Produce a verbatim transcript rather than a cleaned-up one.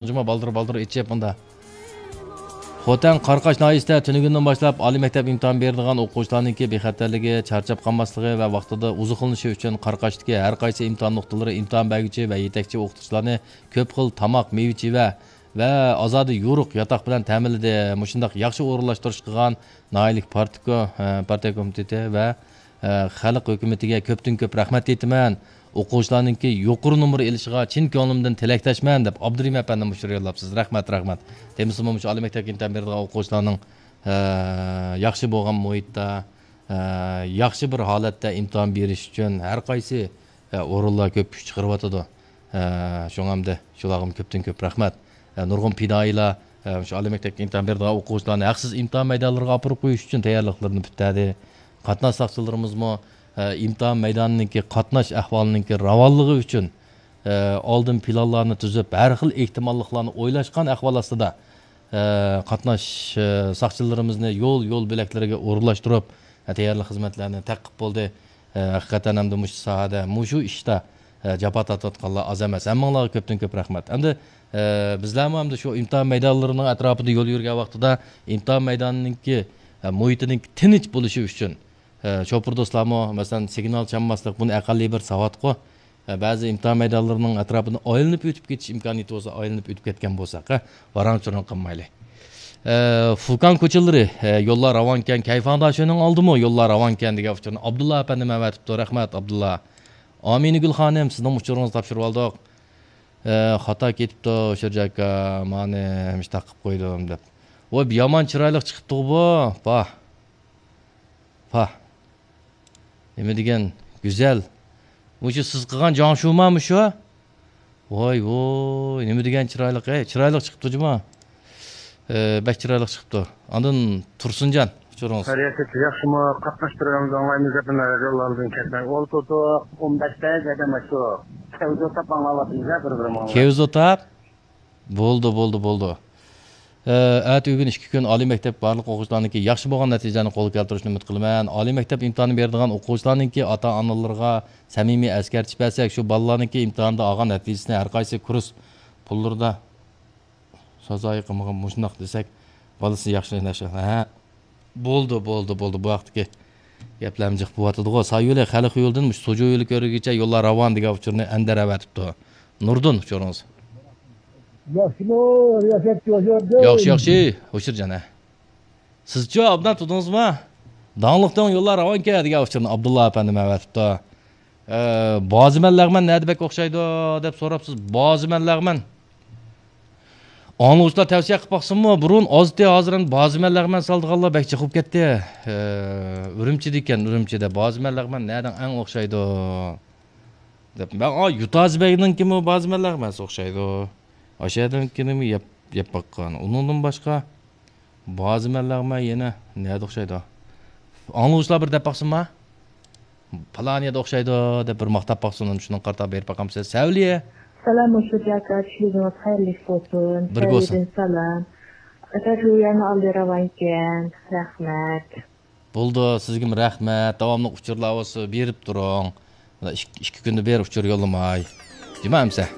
جۇمۇ بالدۇر-بالدۇر ئېچىپ مۇندا. خوتەن قاراقاش ناھىيەسىدە تۈنۈگۈندىن باشلاپ ئالىي مەكتەپ ئىمتىھان بېرىدىغان ئوقۇغۇچىلارنىڭكى بىخەتەرلىكى، چارچاپ قالماسلىقى ۋە ۋاقتىدا ئوزۇقلىنىشى ئۈچۈن قاراقاشتىكى ھەر قايسى ئىمتىھان نۇقتىلىرى ئىمتىھان بەرگۈچى ۋە يېتەكچى ئوقۇتقۇچىلارنى كۆپ خىل تاماق، مېۋە-چېۋە ۋە ئازادە يورۇق ياتاق بىلەن تەمىنلىدى. مۇشۇنداق ياخشى ئورۇنلاشتۇرۇش قىلغان ناھىيەلىك پارتكو-، ئە، پارتىيە كومىتېتى ۋە، ئە، خەلق ھۆكۈمىتىگە كۆپتىن كۆپ رەھمەت ئېيتىمەن. ئوقۇغۇچىلارنىڭكى يۇقىرى نومۇر ئېلىشىغا چىن كۆڭلۈمدىن تىلەكداشمەن، دەپ ئابدۇرېھىم ئەپەندىم مۇشۇ يوللاپسىز. رەھمەت، رەھمەت. دېمىسىمۇ مۇشۇ ئالىي مەكتەپكە ئىمتىھان بېرىدىغان ئوقۇغۇچىلارنىڭ، ئە، ياخشى بولغان مۇھىتتا، ئە، ياخشى بىر ھالەتتە ئىمتىھان بېرىش ئۈچۈن ھەر قايسى ئە، ئورۇنلار كۆپ كۈچ چىقىرىۋاتىدۇ. ئە، شۇڭا ئەمدى شۇلارغىمۇ كۆپتىن كۆپ رەھمەت. ئە، نۇرغۇن پىدائىيلار، ئە، شۇ ئالىي مەكتەپكە ئىمتىھان بېرىدىغان ئوقۇغۇچىلارنى ھەقسىز ئىمتىھان مەيدانلىرىغا ئاپىرىپ قويۇش ئۈچۈن تەييارلىقلىرىنى پۈتتەردى. قاتناش ساقچىلىرىمىزمۇ، ئە، ئىمتىھان مەيدانىنىڭكى قاتناش ئەھۋالىنىڭكى راۋانلىقى ئۈچۈن، ئە، ئالدىن پىلانلارنى تۈزۈپ، ھەر خىل ئېھتىماللىقلارنى ئويلاشقان ئەھۋال ئاستىدا، ئە، قاتناش، ئە، ساقچىلىرىمىزنى يول، يول بۆلەكلىرىگە ئورۇنلاشتۇرۇپ، ئە، تەييارلىق خىزمەتلەرنى تەتقىق بولدى. ئە، ھەقىقەتەن ھەمدە مۇشۇ ساھەدە، مۇشۇ ئىشتا، ئە، جاپا تارتىۋاتقانلار ئاز ئەمەس. ھەممىڭلارغا كۆپتىن كۆپ رەھمەت. ئەمدى، ئە، بىزلەرمۇ ئەمدى شۇ ئىمتىھان مەيدانلىرىنىڭ ئەتراپىدا يول يۈرگەن ۋاقتىدا ئىمتىھان مەيدانىنىڭكى، ئە، مۇھىتىنىڭ تىنچ بولۇشى ئۈچۈن، ئە، شوپۇر دوستلارمۇ، مەسىلەن، سىگنال چالماسلىق، بۇنى ئەقەللىي بىر ساۋاتقۇ. ئە، بەزى ئىمتىھان مەيدانلىرىنىڭ ئەتراپىدىن ئايلىنىپ ئۆتۈپ كېتىش ئىمكانىيىتى بولسا، ئايلىنىپ ئۆتۈپ كەتكەن بولساق، ھە، ۋاراڭ-چۇرۇڭ قىلمايلى. ئە، فۇكان كوچىلىرى، ئە، يوللار راۋانكەن، كەيفاڭداشۆنىڭ ئالدىمۇ يوللار راۋانكەن دېگەن ئۇچۇرنى ئابدۇللا ئەپەندىم ئەۋەتىپتۇ. رەھمەت، ئابدۇللا. ئامىنىگۈل خانىم، سىزنىڭ ئۇچۇرىڭىزنى تاپشۇرۇۋالدۇق. ئە، خاتا كېتىپتۇ، شىرجاكا، مانى ھەمىشە تاقىپ قويدۇم، دەپ. ۋاي، يامان چىرايلىق چىقىپتىغۇ بۇ. پاھ. پاھ. نېمە دېگەن گۈزەل. مۇشۇ سىز قىلغان جاڭشۇما مۇشۇ؟ ۋاي، ۋوي، نېمە دېگەن چىرايلىق، ھەي، چىرايلىق چىقىپتۇ جۇما. ئە، بەك چىرايلىق چىقىپتۇ. ئاندىن تۇرسۇنجان، ئۇچۇرىڭىز. خەيرىيەتلىك، ياخشىمۇ؟ قاتناشتۇرۇۋېرىمىز، ئاڭلايمىز، يېقىندا رادىيولارمىزدىن كەتمەي ئولتۇردۇق. ئون بەشتە زادى ماشۇ كەۋزۇ تاپ ئاڭلاۋاتىمىز، بىر-بىرىمىز. كەۋزۇ تاپ؟ بولدى، بولدى، بولدى. ئە، ئەتە ئۆگۈن ئىككى كۈن ئالىي مەكتەپ بارلىق ئوقۇغۇچىلارنىڭكى ياخشى بولغان نەتىجىلەرنى قولغا كەلتۈرۈشىنى ئۈمىد قىلىمەن. ئالىي مەكتەپ ئىمتىھانى بېرىدىغان ئوقۇغۇچىلارنىڭكى ئاتا-ئانىلىرىغا سەمىمىي ئەسكەرتىش بەرسەك، شۇ بالىلارنىڭكى ئىمتىھاندا ئالغان نەتىجىسىنى ھەر قايسى كۇرس پۇللىرىدا سازايى قىلمىغان مۇشۇنداق دېسەك، بالىسى ياخشى نەشە. ھە. بولدى، بولدى، بولدى. بۇ ھەقتىكى گەپلەرمۇ جىق بولۇۋاتىدىغۇ. سايولى خەلق يولىدىن مۇشۇ سوجۇ يولى كۆرۈگىچە يوللار راۋان دېگەن ئۇچۇرنى ئەندەر ئەۋەتىپتۇ. نۇردىن، ئۇچۇرىڭىز. ياخشىمۇ، رىياسەتچى ھوشياردىن؟ ياخشى، ياخشى، ھوشۇرجان، ھە. سىزچۇ ئابدان تۇتتىڭىزمۇ؟ داڭلىق دۆڭ يوللار راۋانكەن دېگەن ئۇچۇرنى ئابدۇللا ئەپەندىم ئەۋەتىپتۇ. ئە، بازىمەن لەغمەن نەدە بەك ئوخشايدۇ دەپ سوراپسىز. بازىمەن لەغمەن. ئاڭلىغۇچىلار تەۋسىيە قىلىپ باقسۇنمۇ؟ بۇرۇن ئازتى، ھازىر ئەمدى بازىمەن لەغمەن سالىدىغانلار بەك جىق بولۇپ كەتتى. ئە، ئۈرۈمچىدىكەن، ئۈرۈمچىدە. بازىمەن لەغمەن نەدىن ئەڭ ئوخشايدۇ؟ دەپ، مەن، ئا، يۇتازى بەگنىڭكىمۇ بازىمەن لەغمەنسى ئوخشايدۇ. ئاشەدىنكىنىمۇ يەپ، يەپ باققان. ئۇنىڭدىن باشقا بازىمەن لەغمەن يەنە نەدە ئوخشايدۇ؟ ئاڭلىغۇچىلار بىر دەپ باقسۇنما؟ پالان يەردە ئوخشايدۇ دەپ بىر ماختاپ باقسۇن، شۇنىڭغا قارىتا بېرىپ باقامسىز. سەۋلىيە. سالام، ھوشۇرجان ئاكا، چۈشلىرىڭىز خەيرلىك بولسۇن. بىرگە بولسۇن. سەۋلىيەدىن سالام. ئاكا، شۇ يەرنى ئالدى راۋانكەن. رەھمەت. بولدى، سىزگىمۇ رەھمەت. داۋاملىق ئۇچۇرلار بولسا بېرىپ تۇرۇڭ. مانا ئىك-، ئىككى كۈندە بىر ئۇچۇر يوللىماي. جۇما ئەمسە.